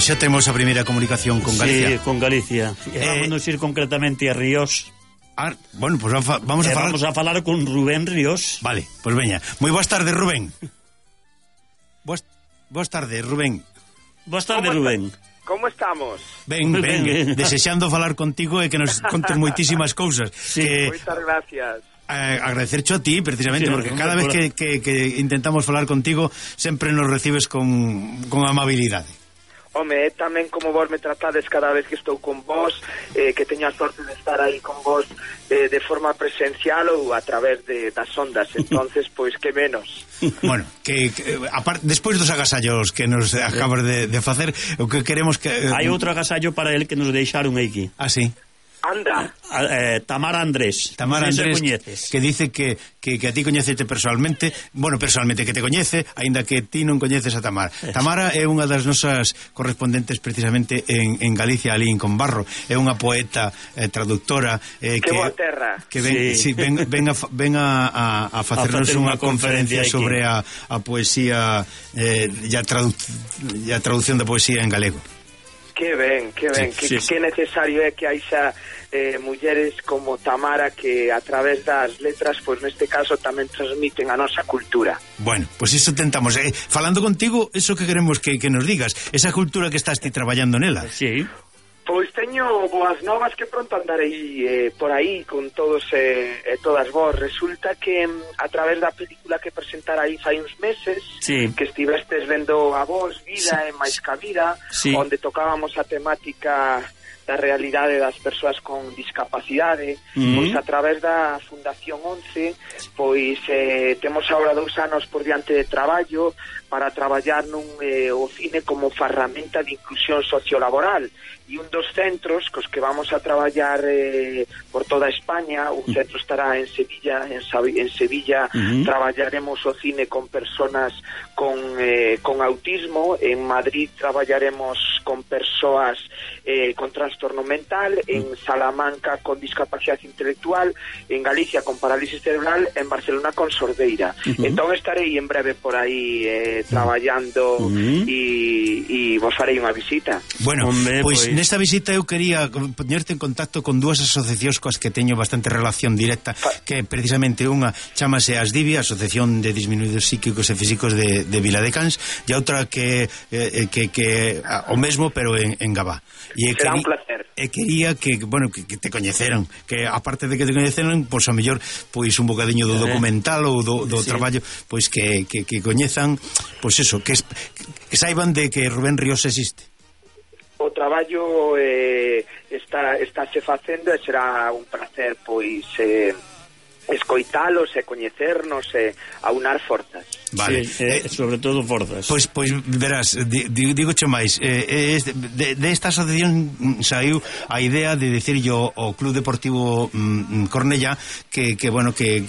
xa temos a primeira comunicación con Galicia. Sí, con Galicia. Vámonos ir concretamente a Ríos. Bueno, pues vamos a falar con Rubén Ríos. Vale, pues veña. Moi boas tardes, Rubén. Boas tardes, Rubén. Boas tardes, Rubén. Como estamos? Ben, desexando falar contigo e que nos contes moitísimas cousas. Sí, moitas gracias. Agradecercho a ti, precisamente, sí, porque cada vez que intentamos falar contigo sempre nos recibes con amabilidade. Home, tamén como vos me tratades cada vez que estou con vos, que teño a sorte de estar aí con vos de forma presencial ou a través das ondas, entonces, pois, que menos. Bueno, aparte, despois dos agasallos que nos acabas de facer, o que queremos que... Hai outro agasallo para el que nos deixaron aquí. Ah, sí? Anda. Tamara Andrés. Tamara Andrés, que dice que a ti coñecete personalmente, que te coñece, aínda que ti non coñeces a Tamara. Tamara é unha das nosas correspondentes precisamente en Galicia, ali en Combarro. É unha poeta, traductora, que boa terra. Que ven a facernos unha conferencia sobre a poesía e a traducción da poesía en galego. Que ben, que necesario é que haixa mulleres como Tamara que a través das letras, pois neste caso tamén transmiten a nosa cultura. Bueno, pois iso tentamos, falando contigo, eso que queremos que nos digas, esa cultura que estás ti traballando nela. Sí. Pois teño boas novas que pronto andarei por aí con todos e todas vos. Resulta que a través da película que presentara aí fai uns meses, que estivestes vendo a vos, Vida e máis ca vida, onde tocábamos a temática da realidade das persoas con discapacidade, pois a través da Fundación 11, pois temos agora 2 anos por diante de traballo para traballar o cine como ferramenta de inclusión sociolaboral, e un dos centros cos que vamos a traballar por toda España, un centro estará en Sevilla, traballaremos o cine con personas con autismo, en Madrid traballaremos con persoas con trastorno mental, en Salamanca con discapacidade intelectual, en Galicia con parálisis cerebral, en Barcelona con sordeira. Entón estarei en breve por aí traballando e vos farei unha visita. Bueno, pois nesta visita eu quería ponerte en contacto con 2 asociacións coas que teño bastante relación directa, que precisamente unha chamase ASDIVI, Asociación de Disminuídos Psíquicos e Físicos de Viladecans, e outra que o mesmo pero en Gabá. Será un placer. E quería que te coñeceran, que aparte de que te coñeceran, pois a mellor pois un bocadiño do documental ou do traballo, pois que coñezan, pois eso, que saiban de que Rubén Ríos existe. O traballo estáse facendo e será un placer pois escoitalos e coñecernos e aunar forzas. Vale, sobre todo forzas. Pois verás, digoche máis, de esta asociación saiu a idea de decirlle ao Club Deportivo Cornellá que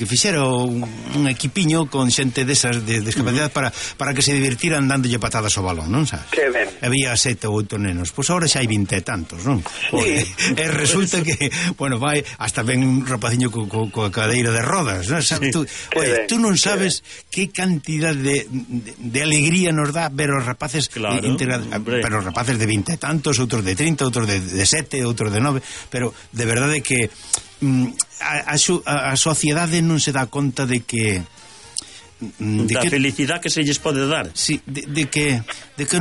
fixera un equipiño con xente desas de discapacidade para que se divirtiran dándolle patadas ao balón, non sabes? Que ben. Había 7 ou 8 nenos, pois agora xa hai 20 e tantos, non? Sí. E resulta que, vai, hasta ven un rapaciño coa cadeira de rodas, non? Sabes, tú non sabes que cantidad de alegría nos dá ver os rapaces, pero os rapaces de 20 e tantos, outros de 30, outros de 7, outros de 9, pero de verdade que a sociedade non se dá conta de que felicidade que se lles pode dar. Sí, de que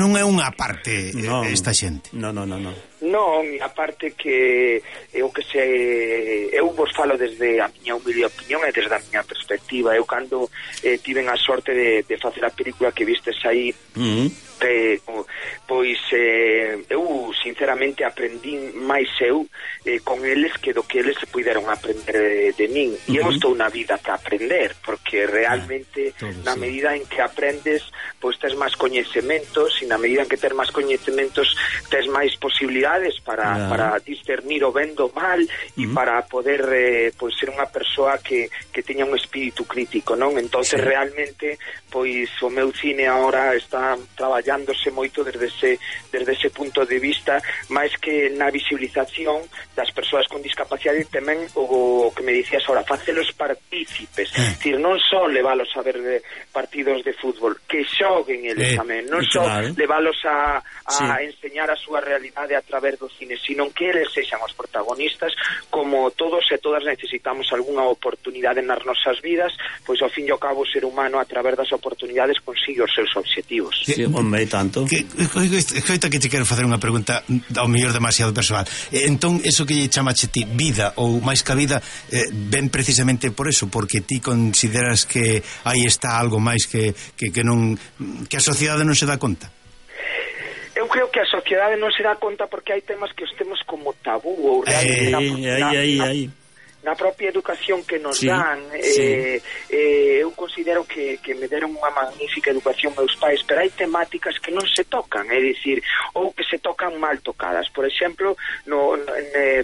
non é unha parte esta xente. Non. Non, a parte que eu vos falo desde a miña humilde opinión e desde a miña perspectiva. Eu cando tiven a sorte de facer a película que vistes aí, pois eu sinceramente aprendín máis con eles que do que eles se puderon aprender de min, e eu estou na vida para aprender, porque realmente na medida en que aprendes, pois tes máis coñecementos, e na medida en que tes máis coñecementos tes máis posibilidades habilidades para discernir o ben do mal e para poder pois ser unha persoa que teña un espírito crítico, non? Entonces realmente pois o meu cine agora está traballándose moito desde ese punto de vista, máis que na visibilización das persoas con discapacidade, tamén o que me dicías ahora, facelos partícipes, decir, non só leválos a ver partidos de fútbol, que xoguen eles tamén, non só leválos a enseñar a súa realidade a través do cine, sino que eles sexan os protagonistas, como todos e todas necesitamos algunha oportunidade nas nosas vidas, pois ao fin e ao cabo o ser humano a través das oportunidades consigue os seus obxectivos. Sí, hombre, tanto. Coita que te quero facer unha pregunta ao mellor demasiado persoal. Entón, eso que lle chamache ti vida, ou máis que a vida, ven precisamente por eso, porque ti consideras que aí está algo máis que non, que a sociedade non se dá conta? Eu creo que a sociedade non se dá conta porque hai temas que os temos como tabú ou na propia educación que nos dan. Eu considero que me deron unha magnífica educación meus pais, pero hai temáticas que non se tocan, é dicir, ou que se tocan mal tocadas. Por exemplo,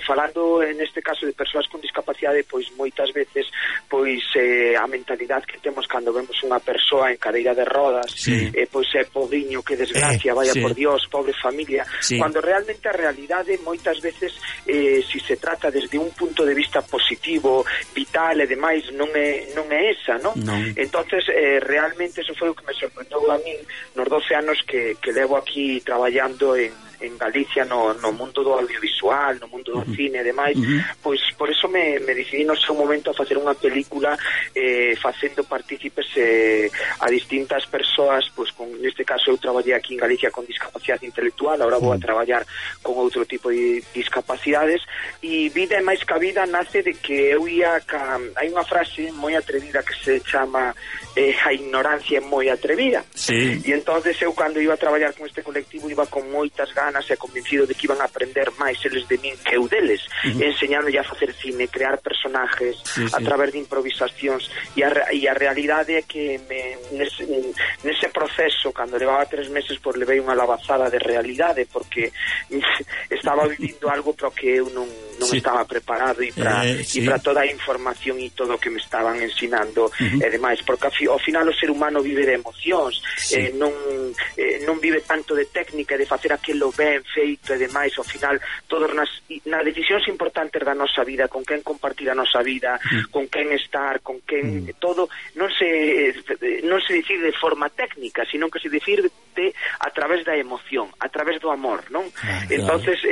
falando neste caso de persoas con discapacidade, pois moitas veces pois a mentalidade que temos cando vemos unha persoa en cadeira de rodas, pois é pobriño, que desgracia, vaya por Dios, pobre familia, cando realmente a realidade moitas veces si se trata desde un punto de vista positivo, vital e demais, non é esa, non? Entonces realmente eso foi o que me sorprendeu a min nos 12 anos que levo aquí traballando en Galicia no mundo do audiovisual, no mundo do cine e demais, pois por eso me decidí no seu momento a facer unha película facendo partícipes a distintas persoas, pois neste caso eu traballei aquí en Galicia con discapacidade intelectual, agora vou a traballar con outro tipo de discapacidades, e Vida é máis que a vida nace de que eu ia hai unha frase moi atrevida que se chama a ignorancia é moi atrevida, e entonces eu cando iba a traballar con este colectivo iba con moitas ganas e convencido de que iban a aprender máis eles de min que eu deles, enseñándolle a facer cine, crear personajes a través de improvisacións, e a realidade é que nese proceso, cando levaba 3 meses, pois levei unha lavazada de realidade, porque estaba vivindo algo para que eu non estaba preparado e para toda a información e todo o que me estaban ensinando e demais, porque ao final o ser humano vive de emocións, non vive tanto de técnica e de facer aquilo ben feito e demais. Ao final todos nas decisións importantes da nosa vida, con quen compartir a nosa vida, con quen estar, con quen todo, non se decide de forma técnica, sino que se decide a través da emoción, a través do amor, non? Entonces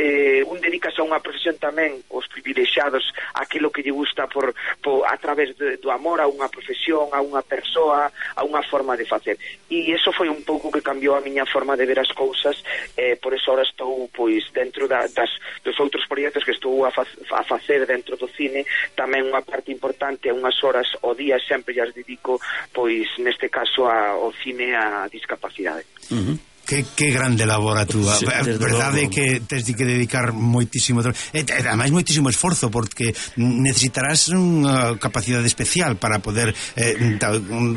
un dedicase a unha profesión tamén, os privilexiados, aquilo que lle gusta a través do amor a unha profesión, a unha persoa, a unha forma de facer, e iso foi un pouco que cambiou a miña forma de ver as cousas. Por eso ahora estou pois dentro dos outros proxectos que estou a facer dentro do cine, tamén unha parte importante, unhas horas ao día sempre as dedico, pois neste caso ao cine a discapacidade. Que grande labor a túa. A verdade é que tens que dedicar moitísimo, ademais moitísimo esforzo, porque necesitarás unha capacidade especial para poder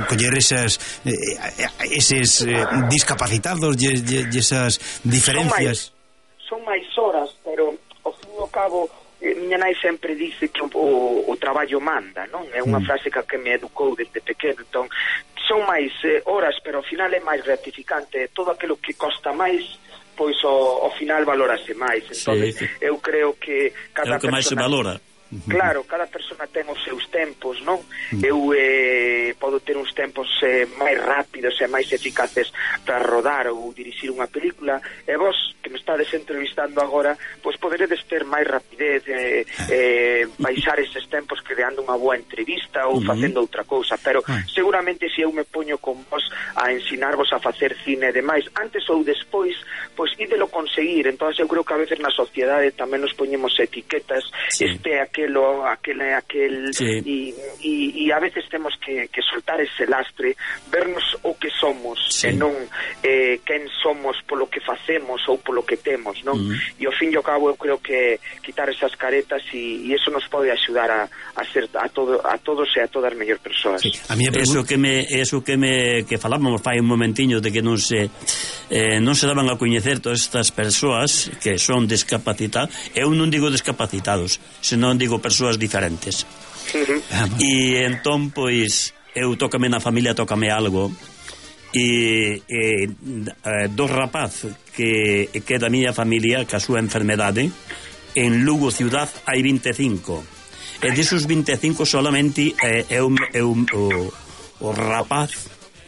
coller eses discapacitados e esas diferencias. Son máis horas, pero ao fin e ao cabo miña nai sempre dice que o traballo manda, non? É unha frase que me educou desde pequeno. Entón son máis horas, pero ao final é máis gratificante. Todo aquilo que costa máis, pois ao final valórase máis. Entón eu creo que cada persona máis se valora. Claro, cada persona ten os seus tempos, non? Eu podo ter uns tempos máis rápidos e máis eficaces para rodar ou dirixir unha película, e vos, que me estades entrevistando agora, pois poderedes ter máis rapidez, baixar eses tempos creando unha boa entrevista ou facendo outra cousa, pero seguramente se eu me poño con vos a ensinarvos a facer cine e demais, antes ou despois, pois ídelo conseguir. Entón eu creo que a veces na sociedade tamén nos poñemos etiquetas, aquel aquel sí. E a veces temos que soltar ese lastre, vernos o que somos, sí. E non quen somos polo que facemos ou polo que temos, non? E ao fin e ao cabo eu creo que quitar esas caretas e eso nos pode axudar a ser a todos e a todas mellor persoas. Sí. Eso que falábamos fai un momentiño de que non se daban a coñecer todas estas persoas que son discapacitadas. Eu non digo discapacitados, senón digo persoas diferentes. E entón, pois, eu tócame na familia, tócame algo, e dos rapaz que da miña familia, que a súa enfermedade en Lugo ciudad hai 25, e desos 25 solamente o rapaz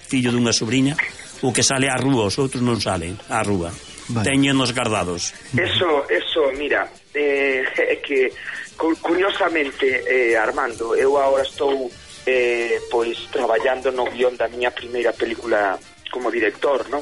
fillo dunha sobrinha o que sale á rúa, os outros non salen á rúa, teñenos guardados. Eso, mira, é que curiosamente, Armando, eu agora estou pois traballando no guión da miña primeira película como director, non?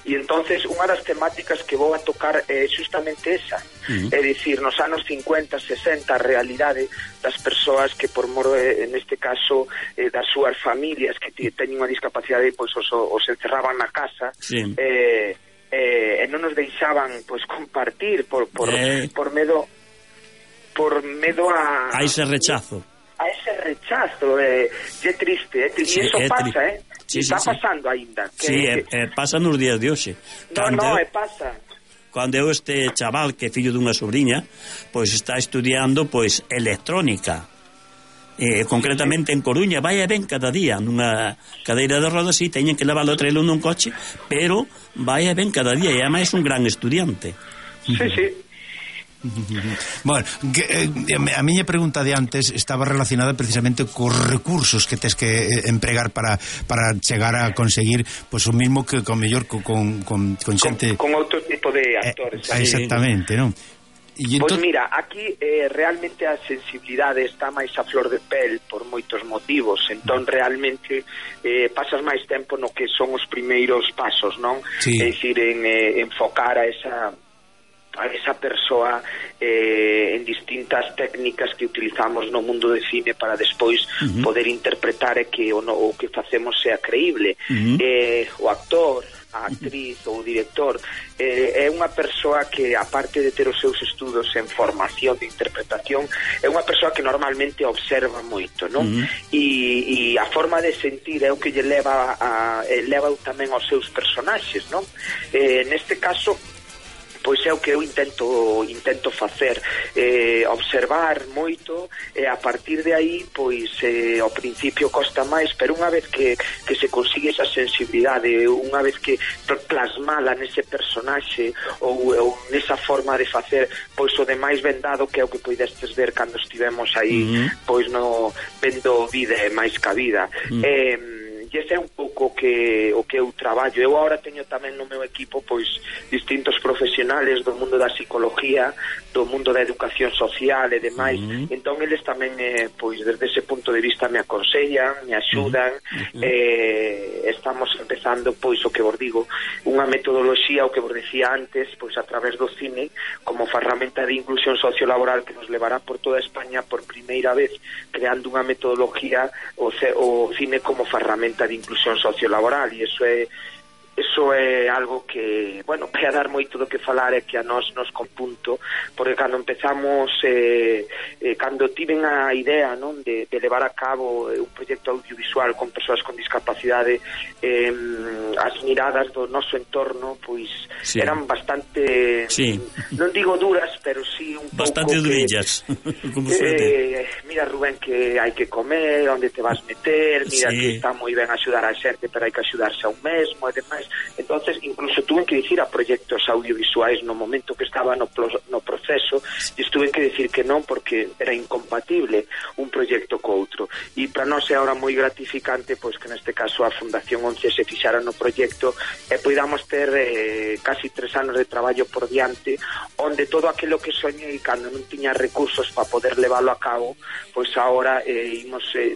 E entonces unha das temáticas que vou a tocar é justamente esa, é dicir, nos anos 50, 60 a realidade das persoas que por mor, neste caso, das súas familias que teñen unha discapacidade, pois os encerraban na casa, sí. E non nos deixaban pois compartir por medo a ese rechazo. A ese rechazo, é triste, e iso pasa, está pasando aínda. Pasa nos días de hoxe. Pasa. Cando eu este chaval que é fillo dunha sobrinha, pois está estudiando pois electrónica. Concretamente en Coruña, vai e ven cada día nunha cadeira de rodas, e teñen que leválo a traelo nun coche, pero vai e ven cada día, e ademais é un gran estudiante. Sí. Bueno, a miña pregunta de antes estaba relacionada precisamente cos recursos que tes que empregar para chegar a conseguir pois o mismo que con mellor con xente con outro tipo de actores. Exactamente, non? Pois mira, aquí realmente a sensibilidade está máis a flor de pel por moitos motivos, entón realmente pasas máis tempo no que son os primeiros pasos, non? Sí. É dicir, en enfocar a esa persoa en distintas técnicas que utilizamos no mundo de cine para despois poder interpretar e que o que facemos sea creíble. O actor, a actriz ou o director é unha persoa que, aparte de ter os seus estudos en formación de interpretación, é unha persoa que normalmente observa moito, non? E a forma de sentir é o que lle leva tamén aos seus personaxes, non? Neste caso, pois é o que eu intento facer, observar moito, e a partir de aí pois ao principio costa máis, pero unha vez que se consigue esa sensibilidade, unha vez que plasmala nese personaxe ou nesa forma de facer, pois o demais vendado, que é o que poidestes ver cando estivemos aí pois no vendo Vida e máis ca vida. E ese é un pouco o que eu traballo. Eu agora teño tamén no meu equipo pois distintos profesionales do mundo da psicología, do mundo da educación social e demais. Entón eles tamén pois desde ese punto de vista me aconsellan, me axudan. Estamos empezando pois o que vos digo, unha metodoloxía, o que vos decía antes, pois a través do cine como ferramenta de inclusión sociolaboral que nos levará por toda España por primeira vez, creando unha metodoloxía o cine como ferramenta de inclusión sociolaboral, e eso é algo que, bueno, vai a dar moito do que falar, é que a nos compunto, porque cando empezamos cando tiven a idea, non, de levar a cabo un proxecto audiovisual con persoas con discapacidade, as miradas do noso entorno pois eran bastante, non digo duras, pero sí un pouco bastante durillas. Mira, Rubén, que hai que comer, onde te vas meter, mira que está moi ben axudar a xente, pero hai que axudarse a un mesmo e demais. Entonces incluso tuve que dicir a proxectos audiovisuais no momento que estaba no proceso, e estuve que dicir que non, porque era incompatible un proxecto co outro, e para nós é ahora moi gratificante pois que neste caso a Fundación 11 se fixara no proxecto e poidamos ter casi 3 anos de traballo por diante, onde todo aquilo que soñei cando non tiña recursos para poder leválo a cabo, pois agora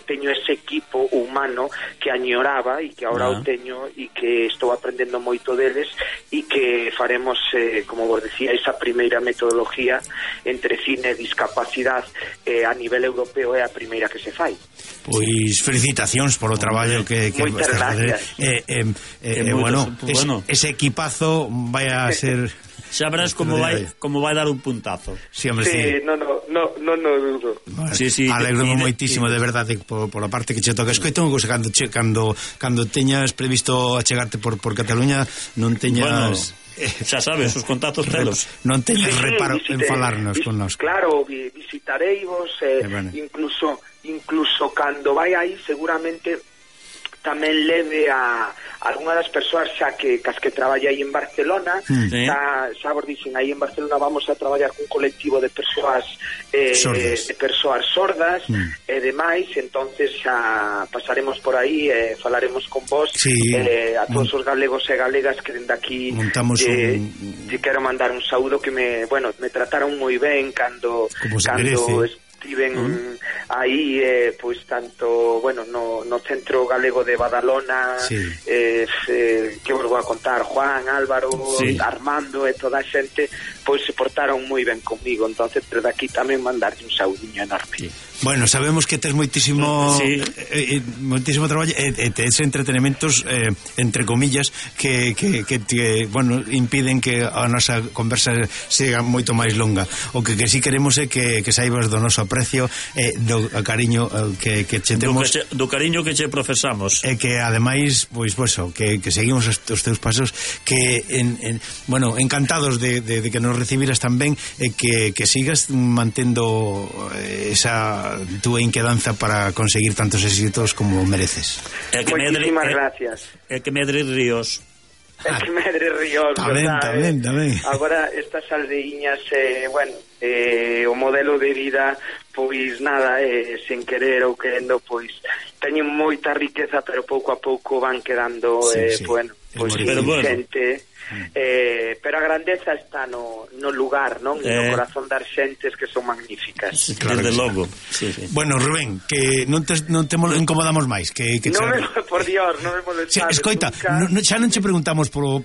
teño ese equipo humano que añoraba e que agora o teño, e que estou aprendendo moito deles e que faremos, como vos decía, esa primeira metodología entre cine e discapacidade a nivel europeo, é a primeira que se fai. Pois felicitacións polo traballo que moitas gracias. Bueno, ese equipazo vai a ser... Xa verás como vai dar un puntazo. Sí, no dudo. Alegro-me moitísimo, de verdade, por a parte que che toca. Escoito, cando teñas previsto achegarte por Cataluña, non teñas... Xa sabes, os contactos telos. Non teñas reparo en falarnos con nós. Claro, visitareivos, incluso cando vai aí, seguramente tamén leve a algunha das persoas xa que cas que traballa aí en Barcelona, xa vos dixen, aí en Barcelona vamos a traballar cun colectivo de persoas sordas e demais, entonces xa pasaremos por aí e falaremos con vos, a todos os galegos e galegas que dende aquí te quero mandar un saúdo que me trataron moi ben cando estiven aí, pois tanto, no Centro Galego de Badalona, que vos vou a contar, Juan, Álvaro, Armando e toda a xente, pois se portaron moi ben comigo, entonces desde aquí tamén mandarlle un saudiño enorme. Bueno, sabemos que tes moitísimo traballo e tes entretenementos entre comillas que impiden que a nosa conversa siga moito máis longa. O que sí queremos é que saibas do noso aprecio e do cariño que che temos, do cariño que che profesamos, e que ademais que seguimos os teus pasos, que encantados de que nos recibiras tan ben e que sigas mantendo esa túa inquedanza para conseguir tantos éxitos como mereces. Moitísimas gracias. Que medre ríos. Que medre ríos, tamén. Agora estas aldeiñas, o modelo de vida, pois nada, sen querer ou querendo, pois teñen moita riqueza, pero pouco a pouco van quedando xente. Pero a grandeza está no lugar, non? No corazón das xentes, que son magníficas. Claro, desde logo. Bueno, Rubén, que non te incomodamos máis, por Dios, non me molestades. Escoita, xa non che preguntamos por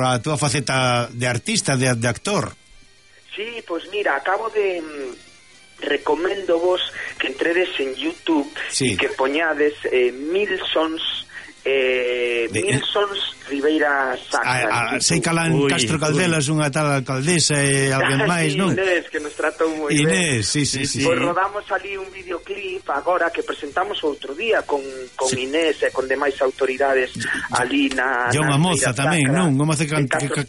a túa faceta de artista, de actor. Sí, pois mira, acabo de recomendo vos que entredes en YouTube e que poñades Milsons Ribeira Sacra. Sei calán Castro Caldelas, unha tal alcaldesa e alguén máis, non? Inés, que nos tratou moi ben. Sí. Pois rodamos ali un videoclip agora que presentamos outro día con Inés e con demais autoridades ali na... E unha moza tamén, non? Unha moza que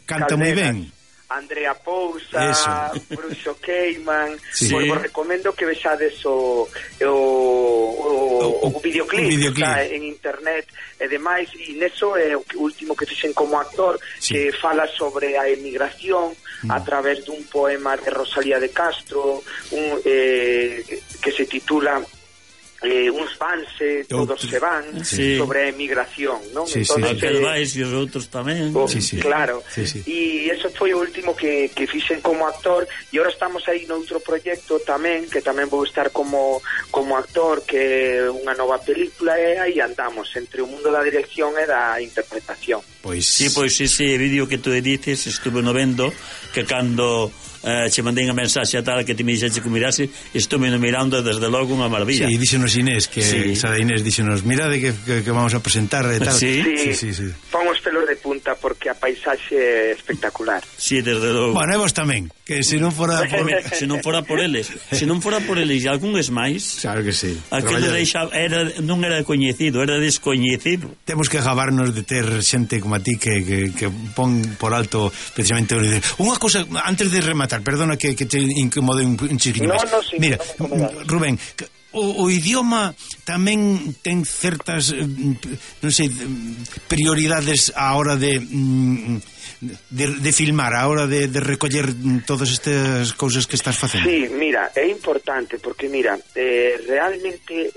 canta moi ben. Andrea Pousa, Bruxo Keyman, pois vos recomendo que vexades o videoclip que está en internet e demais, e neso é o último que fixen como actor, que fala sobre a emigración a través dun poema de Rosalía de Castro, que se titula uns vanse, todos se van, sobre a emigración, non? Aquel vais e os outros tamén. Claro, e eso foi o último que fixen como actor, e agora estamos aí noutro proxecto tamén, que tamén vou estar como actor, que é unha nova película, e aí andamos entre o mundo da dirección e da interpretación. Pois sí, vídeo que tú dices, estuve no vendo, que cando che mandei unha mensaxe a tal que te me dixeche que mirase, estuve mirando desde logo unha maravilla. Sí, díxenos Inés, que Inés díxenos, mirade que vamos a presentar e tal. Sí. Pon os pelos de punta porque a paisaxe é espectacular. Sí, desde logo. Bueno, e vos tamén, que se non fora por eles e algúns máis. Claro que sí. Aquilo non era coñecido, era descoñecido. Temos que gabarnos de ter xente como a ti que pon por alto precisamente unha cousa antes de rematar. Perdona que te incomode un chiquinho máis. Mira, Rubén, o idioma tamén ten certas prioridades a hora de filmar a hora de recoller todas estas cousas que estás facendo? Sí, mira, é importante porque, mira, realmente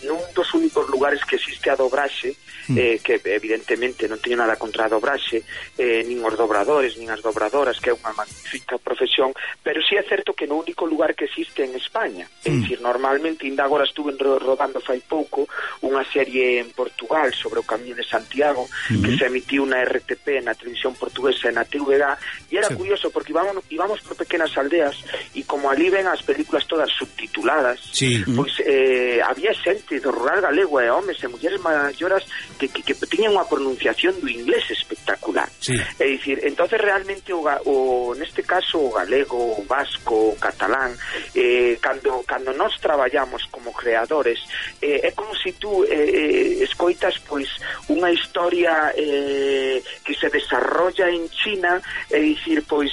nun dos únicos lugares que existe a dobraxe, que evidentemente non teño nada contra a dobraxe, nin os dobradores, nin as dobradoras, que é unha magnífica profesión, pero sí é certo que no único lugar que existe en España. É dicir, normalmente, ainda agora estuve rodando fai pouco unha serie en Portugal sobre o Camiño de Santiago, que se emitiu na RTP, na televisión portuguesa e na TVG, e era curioso porque íbamos por pequenas aldeas e como ali ven as películas todas subtituladas, pois había xente do rural galego e homes e mulleres maioras que tiñan unha pronunciación do inglés espectacular. É dicir, entonces realmente neste caso o galego, o vasco, o catalán, cando nós traballamos como creadores, é como se tú escoitas pois unha historia que se desarrolla en China, é dicir, pois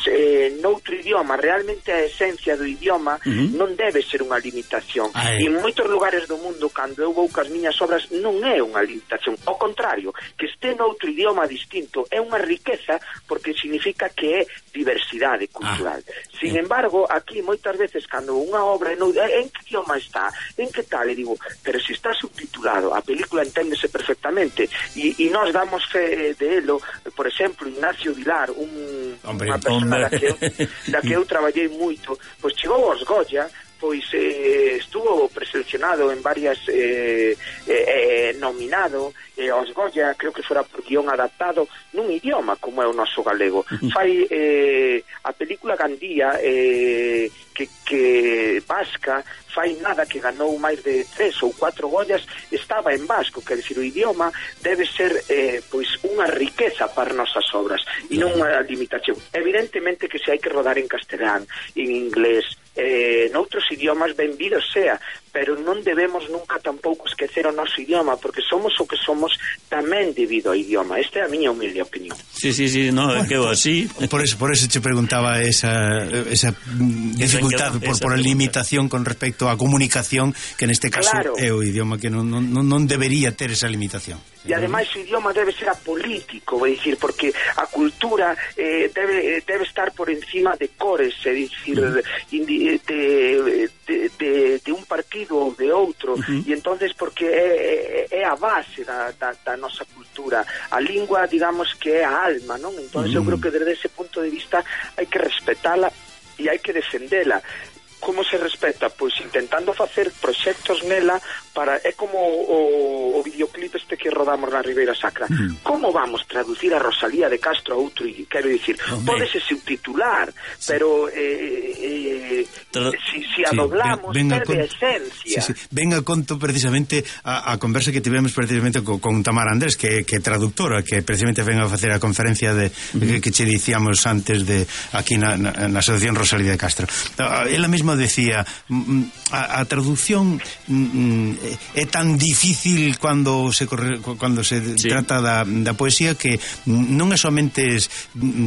noutro idioma. Realmente a esencia do idioma non debe ser unha limitación. E en moitos lugares do mundo, cando eu vou cas miñas obras, non é unha limitación. Ao contrario, que este noutro idioma distinto é unha riqueza porque significa que é diversidade cultural. Sin embargo, aquí moitas veces cando unha obra en que idioma está, en que tal, e digo, pero se está subtitulado, a película enténdese perfectamente, e nós damos fe de elo. Por exemplo, Ignacio Vilar, unha persona da que eu traballei moito, pois chegou aos Goya, pois estuvo preseleccionado en varias nominado aos Goya, creo que fora por guión adaptado nun idioma como é o noso galego. Fai a película Gandía que vasca, fai nada que ganou máis de 3 ou 4 Goyas, estaba en vasco, quer dicir, o idioma debe ser pois unha riqueza para nosas obras e non unha limitación. Evidentemente que se hai que rodar en castelán, en inglés, noutros idiomas, benvidos sea, pero non debemos nunca tampouco esquecer o noso idioma, porque somos o que somos tamén debido ao idioma. Esta é a miña humilde opinión. Sí, no, é que eu así. Por eso te preguntaba esa dificultad por a limitación con respecto á comunicación, que neste caso é o idioma que non debería ter esa limitación. E ademais o idioma debe ser apolítico, é dicir, porque a cultura debe estar por encima de cores, é dicir, de un partido ou de outro, e entonces porque é a base da nosa cultura. A lingua, digamos que é a alma, non? Entonces eu creo que desde ese punto de vista hai que respetala e hai que defendela. Como se respeta? Pois intentando facer proxectos nela para... É como o videoclip este que rodamos na Ribeira Sacra. Como vamos traducir a Rosalía de Castro a outro? Quero dicir, pódese subtitular, pero si a doblamos, perde esencia. Ven a conto precisamente a conversa que tivemos precisamente con Tamara Andrés, que é traductora, que precisamente ven a facer a conferencia que che dicíamos antes de aquí na Asociación Rosalía de Castro. Ela mesma decía, a traducción é tan difícil cando se trata da poesía, que non é somente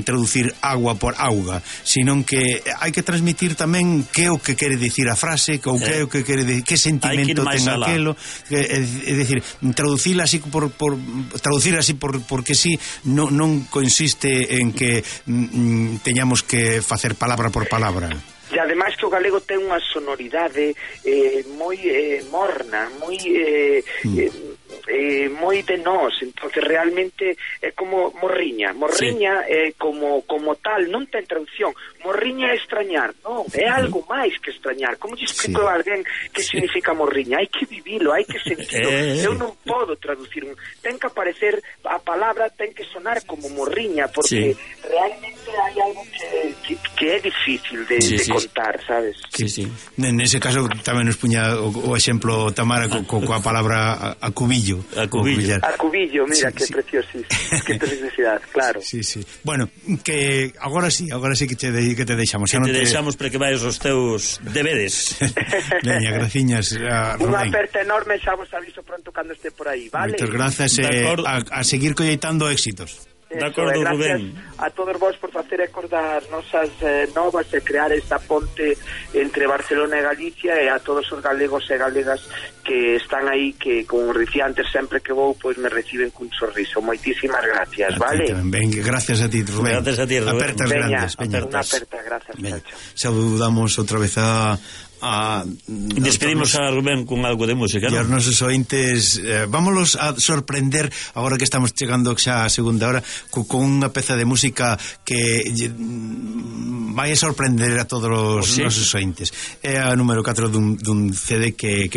traducir agua por auga, sino que hai que transmitir tamén que é o que quere dicir a frase, que é o que quere dicir, que sentimento ten aquelo, é dicir, traducir así porque sí, non consiste en que teñamos que facer palabra por palabra. E ademais que o galego ten unha sonoridade moi morna, moi de nós, entonces realmente é como morriña é como tal, non ten traducción. Morriña é extrañar, non, é algo máis que extrañar. Como lle explico a alguén que significa morriña? Hai que vivilo, hai que sentirlo. Eu non podo traducir, ten que aparecer a palabra, ten que sonar como morriña, porque realmente hai algo que é difícil de contar, sabes? Nese caso tamén nos puña o exemplo Tamara coa palabra acubillo. Acubillo, mira, que preciosísimo, que preciosidade, claro. Bueno, que agora sí que te deixamos. Que te deixamos para que vayas aos teus deberes. Veña, graciñas a Rubén. Unha aperta enorme, xa vos aviso pronto cando este por aí, vale? Moitas grazas, a seguir colleitando éxitos. De acordo, Rubén. A todos vos por facer ecos das nosas novas e crear esta ponte entre Barcelona e Galicia, e a todos os galegos e galegas que están aí, que, como dicía antes, sempre que vou, pois me reciben cun sorriso. Moitísimas gracias, vale? Ben, gracias a ti, Rubén. Gracias a ti, Rubén. Apertas grandes. Unha aperta, gracias. Saludamos outra vez despedimos a Rubén con algo de música, e non? aos nosos ointes, vámonos a sorprender agora que estamos chegando xa a segunda hora con unha peza de música que vai a sorprender a todos os nosos ointes. É a número 4 dun CD que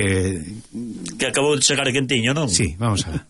acabou de chegar quentiño, non? Sí, vamos a ver.